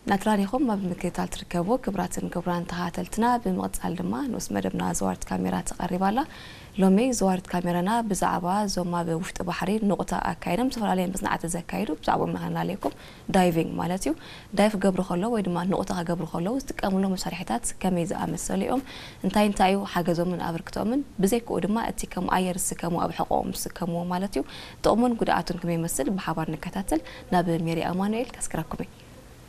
ናትራን ኢኹም ኣብ ምክትታል ትርከቡ ክብራትን ክብራን ተኸታተልትና። ብምቕጻል ድማ ንኡስ መደብና ዘዋርት ካሜራ ተቐሪባ ኣላ። ሎሚ ዘዋርት ካሜራና ብዛዕባ እዞም ኣብ ውሽጢ ባሕሪ ንቑታ ኣካይዶም ዝተፈላለየ መጽናዕቲ ዘካይዱ ብዛዕባኦም ኢና ክነላልየኩም። ዳይቪንግ ማለት እዩ። ዳይቭ ክገብሩ ከለዉ ወይ ድማ ንቑታ ክገብሩ ከለዉ ዝጥቀምሎም መሳርሒታት ከመይ ዝኣመሰሉ እዮም? እንታይ እንታይ እዩ ሓገዞምን ኣበርክቶኦምን? ብዘይክኡ ድማ እቲ ከም ኣየር ዝስከሙ ኣብ ሕቖኦም ዝስከምዎ ማለት እዩ። ጥቕሙን ጉድኣቱን ከመይ ይመስል ብሓባር ንከታተል። ናብ ሜሪ ኣማኑኤል ከስክረኩም እየ።